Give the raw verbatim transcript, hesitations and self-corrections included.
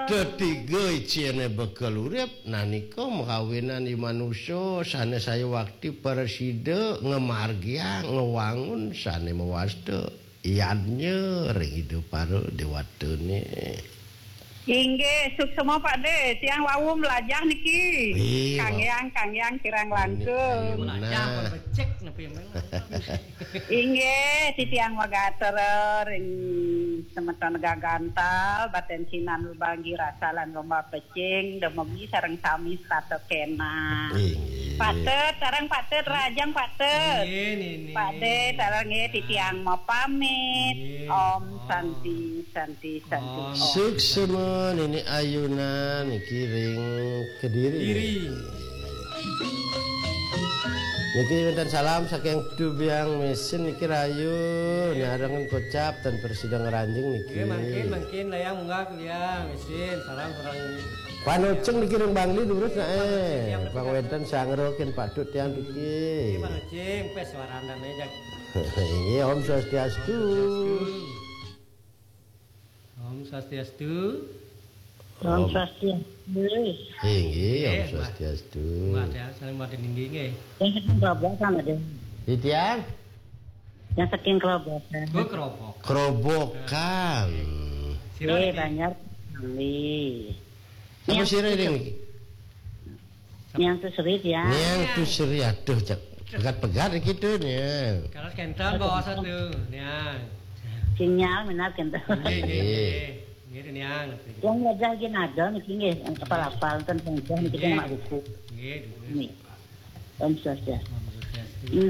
Ketiga icéné bekel urip, nah nika makawinan i manusa sané saya wakti prasida ngamargiang, ngawangun sané mawasta yadnya ring Ida para déwatané. Inggih, suksma Pak Dé, tiang wau mlajah niki. Ih, Kang wau. Yang, Kang Yang kirang Ini langkung. Ayu Mlajah nah. Pun becik nepi memang. Inggih, titiang matur ring semeton gagantal, Baten Sinan Lubang Girasa lan Lomba Pecing, dumugi sareng sami setata kénak. Inggih. Patut, sareng patut, rahajeng patut. Inggih, nini. Pak Dé, sareng nggih, titiang mapamit. Inggih. Om Om. Santi, Santi, Santi, Om. Om. Suksma nini ayunan niki ring Kediri. Kediri. Niki wénten salam saking Tubiang Mesin niki rahayu, nggih. Nyarengan kocap ten prasida ngranjing niki. Nggih, mangkin, mangkin layang munggah Tubiang Mesin, salam sareng Panoceng niki ring Bangli durus naé. Nggih, Bang wénten sangro kin patut tiang niki. Nggih, Bang Cing, pes warandan aja. Nggih, Om Swastiastu. Om Swastiastu. Om Om. Swastiastu. Inggih, Om Nggih, Mbah. Swastiastu. Mbah, ya, saling Mbah Dening nggih. Yang saking Kerobokan ada. Titiang? Yang saking Kerobokan. Oh, Kerobokan. Kerobokan. Sira Eh, niki? Banjar Bangli. Apa Yang sira saking niki? Niang Tusri, ya. Niang Tusri, aduh, cek pegat-pegat iki tuh, Niang. Kalau kental bawa satu, Niang. Sinyal minat kental. Nggih, nggih, Nggih. Nggih. Nggih, Niang. Yang wajah gini ada niki nggih, apal-apal ten wajah niki Nggih. Mak buku. Nggih, nggih. Nih. Om Swastiastu. Om Swastiastu.